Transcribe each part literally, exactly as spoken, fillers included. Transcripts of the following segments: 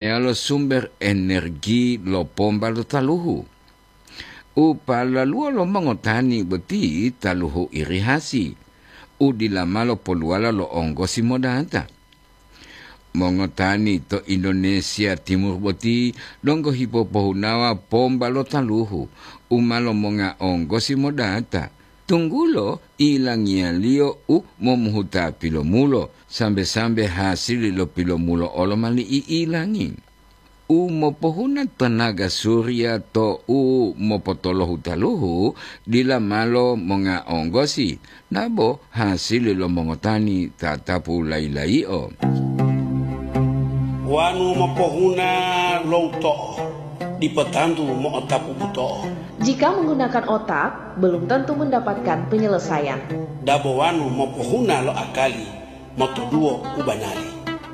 meyalo sumber energi lo pomba lo taluhu. U palaluwo lo mongotani boti taluhu irihasi, u dila ma lopoluwala lo onggosi modata. Mongotani to Indonesia Timur boti donggo hipopohunawa pomba lo taluhu u ma lomonga onggosi modata, tunggulo ilangiyaliyo u momuhuta pilomulo, sambe-sambe hasili lo pilomulo olo ma li'i'ilangi. U mopohuna tanaga surya to u mopotolohu taluhu dila malo monga onggosi, dabo hasili lo mongotani tatapu layi-layio. Wanu mopohuna lo uto'o, dipo tantu mo'otapu buto'o. Jika menggunakan otak, belum tentu mendapatkan penyelesaian. Dabo wanu mopohuna lo akali, motoduwo u banari.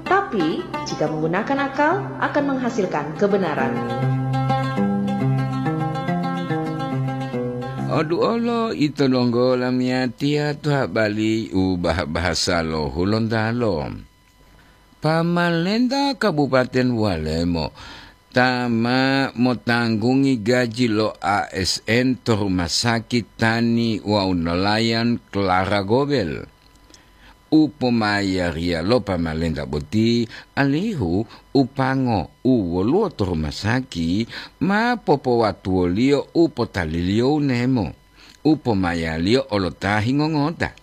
Tapi, jika menggunakan akal, akan menghasilkan kebenaran. Oduolo ito donggo lamiyatiya to habari u bah-, bahasa lo Hulontalo. Pamalenta Kabupaten Walemo ta ma motanggungi gaji lo A S N to rumah sakit tani wawu nelayan Clara Gobel. U pomayariya lo pamalenta boti alihu u pango u woluwo to rumah sakit ma popowatuwoliyo u potaliliyo u nemo, u pomayaliyo olo ta hingongota.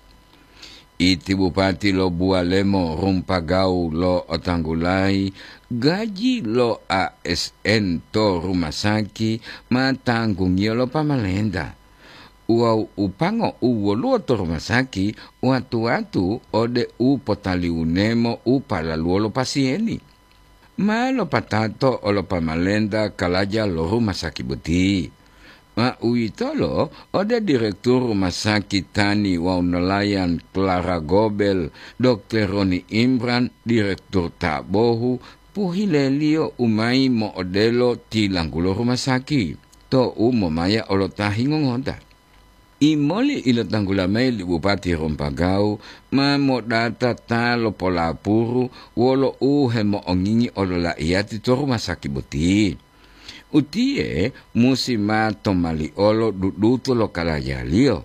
Iti bupati lo Buwalemo Rumpagawu lo otanggulayi gaji lo A S N to rumah sakit ma tanggungiyo lo pamalenta. Wawu u pango u woluwo to rumah sakit watu-watu ode u potaliwunemo u palaluwo lo pasiyeni. Ma lopatato olo pamalenta kalaja lo rumah sakit boti. Ma uwitolo ode direktur rumah sakit tani wawu nelayan Clara Gobel, dokter Roni Imran, direktur ta bohu, pohileliyo u mayi mo'odelo tilanggulo rumah sakit, to u momaya olo ta hingongota. Imoli ilotanggula mayi li Bupati Rompagawu ma modata ta lopolapuru wolo u hemo'ongingi olola'iyati to rumah sakit boti. Utiye musi ma tomaliolo dudutu lo kalajaliyo,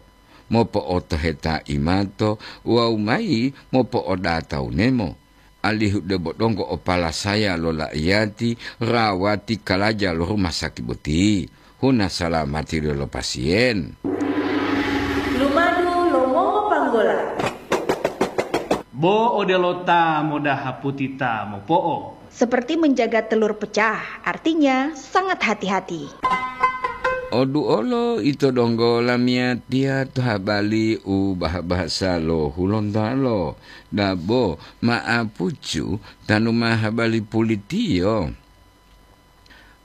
mopo'otoheta imato wawu mayi mopo'odata unemo, alihu debo donggo o palasaya lo la'iyati rawati kalaja lo rumah sakit boti, huna salamati lo pasiyen. Lumadu lo mongopanggola. Bo odelo ta modaha puti ta mopo'o. Seperti menjaga telur pecah, artinya sangat hati-hati. Oduolo ito donggo lamiyatiya to habari u bah-bahasa lo Hulontalo, dabo ma'apucu tanu ma habari pulitiyo.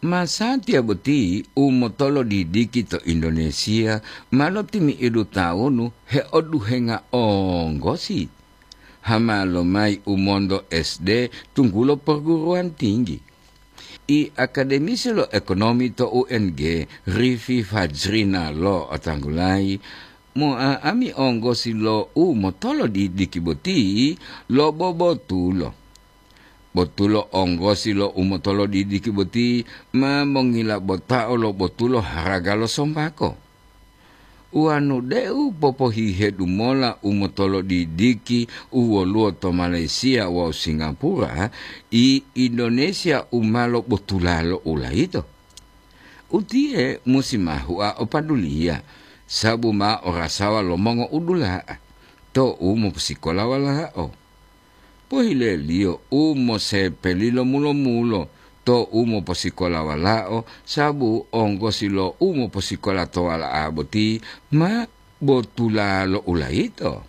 Masatiya boti u motolodidiki to Indonesia ma lotimi'idu tawunu heoduhenga onggosi. Hama lomayi u monto S D tunggulo perguruan tinggi. I akademisi lo ekonomi to U N G, Rifi Fajrina lo otanggulayi, mo'a'ami onggosi lo u motolodidiki boti lo bobotulo. Botulo onggosi lo u motolodidiki boti ma mongila botao lo botulo haraga lo sombako. Wanu deu popohihedu mola u motolodidiki u woluwo to Malaysia wawu Singapura, i Indonesia u ma lobotula lo ulayito. Utiye musi ma hua o paduliya, sabu ma orasawa lo mongo'udula'a to u moposikola walao. Pohileliyo u mosepeli lo mulo-mulo to u moposikola walao, sabu onggosi lo u moposikola to wala'a boti ma botula lo ulayito.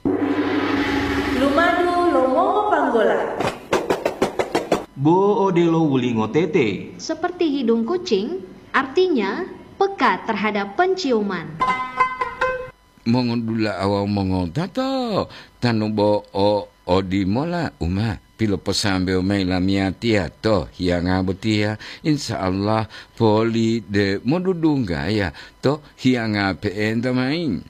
Lumadu lo mongopanggola. Bo odelo wulingo tete. Seperti hidung kucing, artinya peka terhadap penciuman. Mongodula'a wawu mongotato, tanu bo o odimola u ma piloposambewo mayi lamiyatiya to hiyanga botiya, insya Allah poli de modudunggaya to hiyanga pe'enta mayi.